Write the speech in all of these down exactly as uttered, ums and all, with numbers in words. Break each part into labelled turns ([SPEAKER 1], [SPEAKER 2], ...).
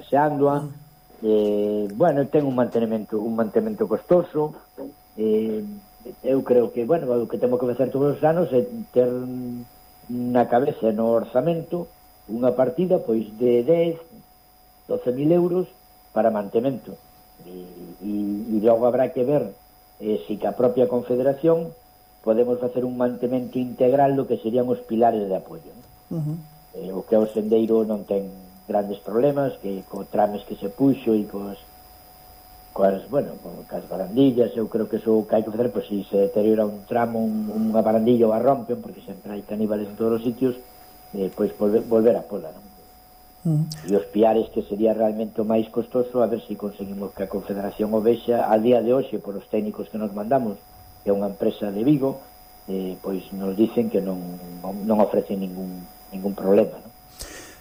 [SPEAKER 1] paseándoa. Eh, bueno, ten un mantenimento un mantenimento costoso. Eh, eu creo que, bueno, o que temos que facer todos os anos é ter na cabeza no orzamento unha partida pois de dez, doce mil euros para mantemento. E, e, e logo habrá que ver eh, si que a propia Confederación podemos facer un mantemento integral do que serían os pilares de apoio. Uh-huh. Eh, o que o sendeiro non ten grandes problemas, que co trames que se puxo e cos, coas, bueno, coas barandillas, eu creo que eso que hai que facer, pois se se deteriora un tramo, un, unha barandilla ou a rompen, porque sempre hai caníbales en todos os sitios, eh, pois volver, volver a pola, non? Uh-huh. E os piares, que sería realmente o máis costoso, a ver se si conseguimos que a Confederación o vexa al día de hoxe por os técnicos que nos mandamos, que é unha empresa de Vigo, eh, pois nos dicen que non, non ofrecen ningún, ningún problema, non?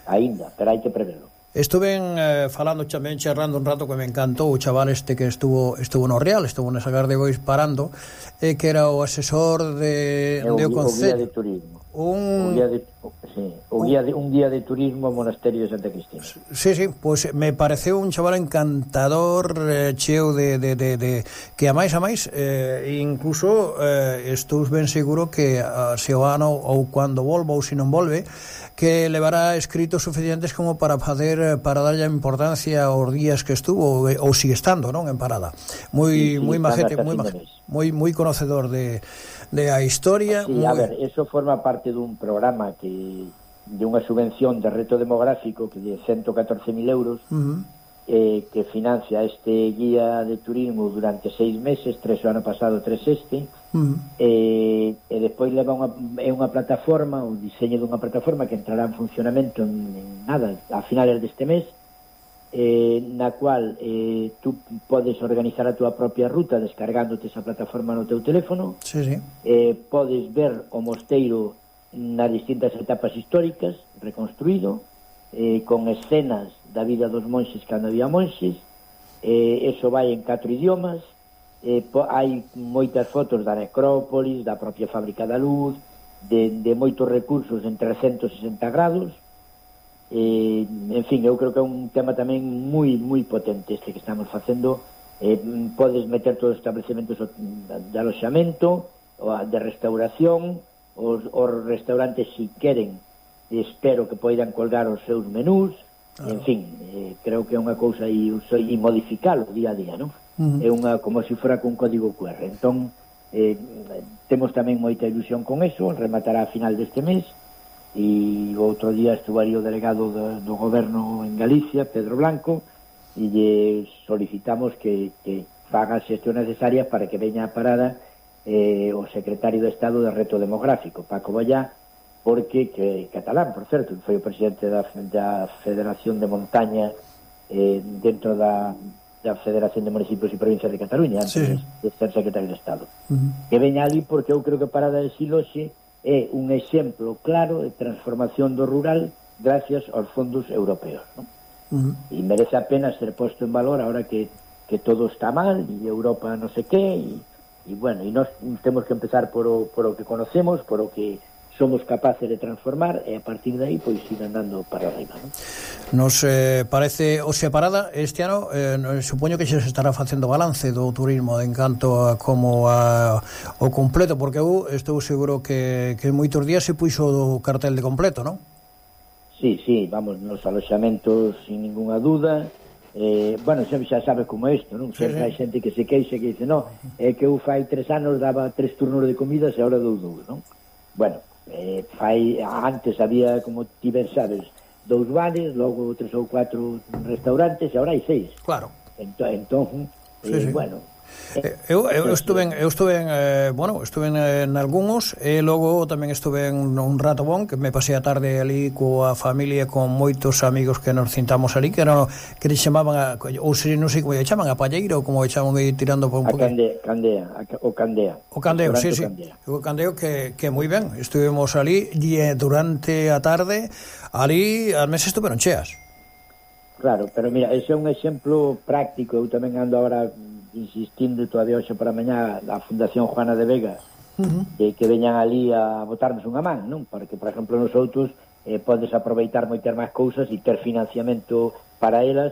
[SPEAKER 1] Ainda, pero hai que preverlo.
[SPEAKER 2] Estuve eh, falando tamén, charrando un rato, que me encantou o chaval este que estuvo estuvo no Real, estuvo nesa Gardegois parando, eh, que era o asesor de,
[SPEAKER 1] o,
[SPEAKER 2] de o
[SPEAKER 1] o guía
[SPEAKER 2] Concello.
[SPEAKER 1] de turismo.
[SPEAKER 2] Un...
[SPEAKER 1] O guía de, sí, o guía de, un guía de turismo ao Monasterio de Santa Cristina.
[SPEAKER 2] Sí, sí, pois pues me pareceu un chaval encantador, eh, cheo de, de, de, de que a máis a máis eh, incluso eh, estou ben seguro que uh, se o ano ou cando volva ou se non volve, que levará escritos suficientes como para facer, para darlle importancia aos días que estuvo ou, ou sigue estando, non, en parada. Moi sí, sí, moi majete, moi moi moi conocedor de de a historia.
[SPEAKER 1] Sí,
[SPEAKER 2] muy...
[SPEAKER 1] a ver, eso forma parte dun programa que de unha subvención de reto demográfico que de ciento catorce mil euros, uh-huh. eh, que financia este guía de turismo durante seis meses, tres o ano pasado, tres este, uh-huh. eh, e despois leva unha, é unha plataforma, o diseño dunha plataforma que entrará en funcionamento en, en nada, a finales deste mes, eh, na cual eh, tú podes organizar a túa propia ruta descargándote esa plataforma no teu teléfono.
[SPEAKER 2] Sí, sí.
[SPEAKER 1] Eh, podes ver o mosteiro nas distintas etapas históricas reconstruído, eh, con escenas da vida dos monxes cando había monxes. Eh, eso vai en catro idiomas. Eh, po, hai moitas fotos da necrópolis, da propia fábrica da luz, de, de moitos recursos en trescentos e sesenta grados. Eh, en fin, eu creo que é un tema tamén moi moi potente este que estamos facendo. Eh, podes meter todos os establecementos de aloxamento, de restauración, os, os restaurantes, si queren, espero que poidan colgar os seus menús. Ah. En fin, eh, creo que é unha cousa e, e modificalo día a día, non? Uh-huh. É unha, como se fora con código Q R. Entón, eh, temos tamén moita ilusión con eso, rematará a final deste mes. E outro día estuvo aí o delegado do, do goberno en Galicia, Pedro Blanco, e lle solicitamos que, que faga as xestións necesarias para que veña a parada eh, o secretario de Estado de Reto Demográfico, Paco Bollá, porque, que catalán, por certo, foi o presidente da, da Federación de Montaña eh, dentro da, da Federación de Municipios e Provincias de Cataluña, antes sí. de ser secretario de Estado. Uh-huh. Que veña ali porque eu creo que Parada de Siloxe é un exemplo claro de transformación do rural gracias aos fondos europeos, non? Uh-huh. E merece a pena ser posto en valor ahora que, que todo está mal e Europa non sei que e, e bueno, e nós temos que empezar por o, por o que conocemos, por o que somos capaces de transformar e a partir de aí pois ir andando para arriba, non?
[SPEAKER 2] Nos eh, parece, o sea, Parada este ano eh, supoño que xa se estará facendo balance do turismo en canto a como a, o completo, porque eu estou seguro que, que moitos días se puxo o cartel de completo, non?
[SPEAKER 1] Sí, sí, vamos, nos aloxamentos sin ninguna duda. Eh, bueno, sempre xa sabes como é isto, non? Sempre sí, sí. Hai xente que se queixa, que dice, no, é que eu fai tres anos daba tres turnos de comidas e agora dou dous, non? Bueno, eh, fai, antes había, como ti ben sabes, dous bares, logo tres ou catro restaurantes e agora hai seis.
[SPEAKER 2] Claro.
[SPEAKER 1] Entón, entón eh,
[SPEAKER 2] sí, sí.
[SPEAKER 1] bueno...
[SPEAKER 2] Eu, eu estuve en, eu estuve en, eh, bueno, estuve en, en algúns e logo tamén estuve en un rato bon que me pasei a tarde ali coa familia con moitos amigos que nos cintamos ali que era que le chamaban a, ou se non sei como lle chaman a palleira ou como lle chaman aí tirando por un
[SPEAKER 1] pouco. A candea, candea, o candea.
[SPEAKER 2] O candeo, sí, sí. Candea. O candeo que, que moi ben, estuvemos ali e durante a tarde ali as mesas estuveron cheas.
[SPEAKER 1] Claro, pero mira, ese é un exemplo práctico. Eu tamén ando agora insistindo todavía hoxe para mañá a Fundación Juana de Vega, uh-huh. que, que veñan ali a botarnos unha man, non? Porque, por exemplo, nosotros eh, podes aproveitar moitas máis cousas e ter financiamento para elas